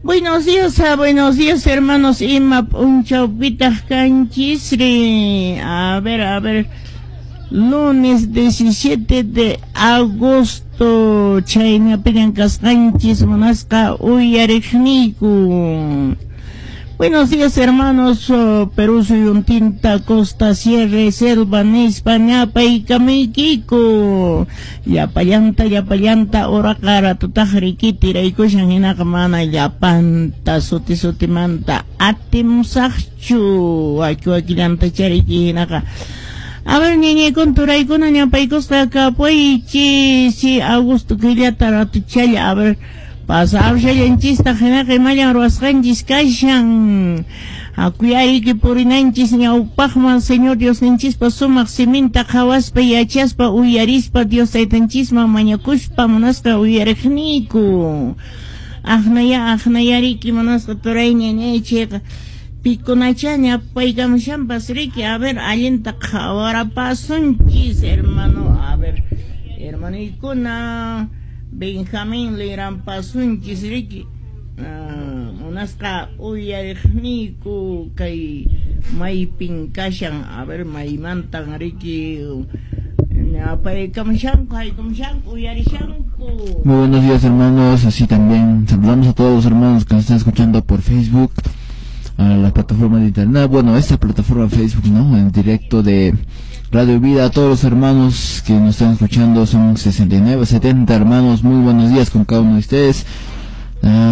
Buenos días, hermanos. Ima p'unchawpitaq kanchisri? A ver, a ver. Lunes 17 de agosto, chaynapiñan kasqanchis, munasqa uyariqniyku. Buenos días, hermanos, Perú suyuntinta, costa, sierra, selva nispa ñapaykamuykiku. Llapallanta, llapallanta, uraqa ratutaq riki tiraykushan, hinaqa mana llapanta suti sutimanta atimusaqchu, waki wakillanta chariki hinaqa. A ver, ñañaykuna, turaykuna, ñapaykusqa kapuychis, si agosto killata ratuchalla, a ver, pasawshallanchistaq hinaqa imallan ruwasqanchis kashan. Hakuyariki purinanchis ñawpaqman Señor Diosninchispa sumaq siminta qhawaspa, yachaspa, uyarispa, Dios taytanchisman mañakuspa, munasqa uyariqniyku. Aqnaya, aqnayariki, munasqa turay, ñañay, chayqa pikunacha ñapaykamushanpas riki. A ver, allinta qhawarapasunchis, hermano. A ver, hermanoykuna, Benjamín lirampasunchis riki. Munasqa uyariqniyku, kay maypin kashan, a ver, maymantan riki ñapaykamushanku, haykamushanku, uyarishanku. Muy buenos días, hermanos, así también saludamos a todos los hermanos que nos están escuchando por Facebook, a la plataforma de internet, bueno, esta plataforma Facebook, ¿no? En directo de Radio Vida, a todos los hermanos que nos están escuchando, son 69, 70 hermanos, muy buenos días con cada uno de ustedes.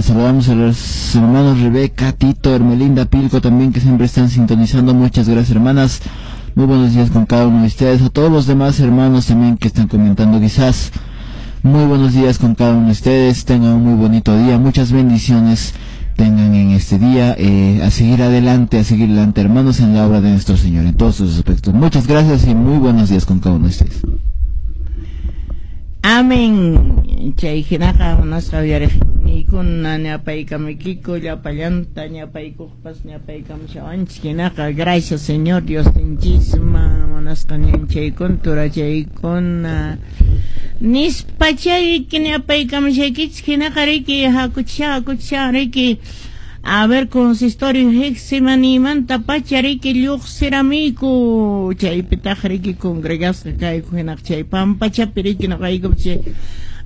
Saludamos a los hermanos Rebeca, Tito, Hermelinda, Pilco también, que siempre están sintonizando. Muchas gracias, hermanas. Muy buenos días con cada uno de ustedes. A todos los demás hermanos también que están comentando quizás. Muy buenos días con cada uno de ustedes. Tengan un muy bonito día. Muchas bendiciones tengan en este día. A seguir adelante, hermanos, en la obra de nuestro Señor, en todos sus aspectos. Muchas gracias y muy buenos días con cada uno de ustedes. Amén. Chay hinaqa munasqa uyariqniykuna ñapaykamuykiku llapallanta ñapaykuqpas ñapaykamushawanchis hinaqa gracias Señor Diosninchisman, munasqa ñanchaykuna, turachaykuna nispa chayki ñapaykamushaykichis hinaqa riki hakuchisha, hakuchisha riki. A ver, consistorio Getsemanímanta pacha riki lluqsiramiyku, chaypitaq riki congregasqa kayku hinaq chay pampachapi riki noqaykupas chay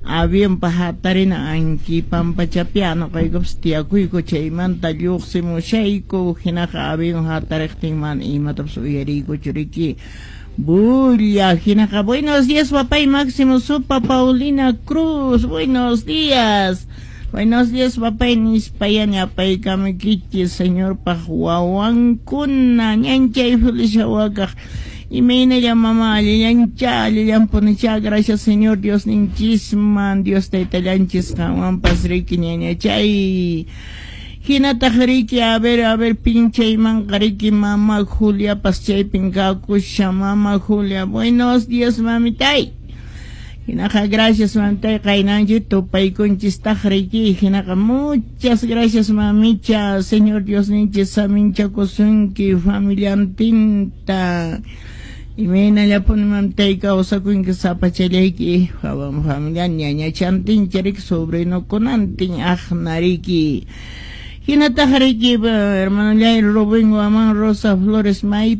avionpa hatarina anki pampachapi noqaykupas tiyakuyku, chaymanta lluqsimushayku hinaqa avión hatariqtin mana imatapas uyariykuchu riki. Bulla, hinaqa buenos días, papay Máximo Supa, Paulina Cruz, buenos días. Buenos días, papay, nispaya ñapaykamukichis Señorpaq wawankuna, ñanchay Felicia wakaq. Imaynalla mama, allillancha, allillanpunicha, gracias Señor Dios ninchisman, Dios taytallanchis qanwanpas riki ñañachay. Hinataq riki, a ver, pinchaymanqa riki mama Juliapas chaypin kakusha, mama Julia, buenos días, mamitay. Hinaqa gracias mamitay, qaynanchik tupaykunchistaq riki, hinaqa muchas gracias, mamicha, Señor Dios ninchis saminchakusunki familiantinta. Imaynallapuni mamitay kawsakunki sapachallayki familia ñañachantincha riki sobrinokunantin aqna riki. Hinataq riki hermanollay Rubén Guamán Rosa Flores may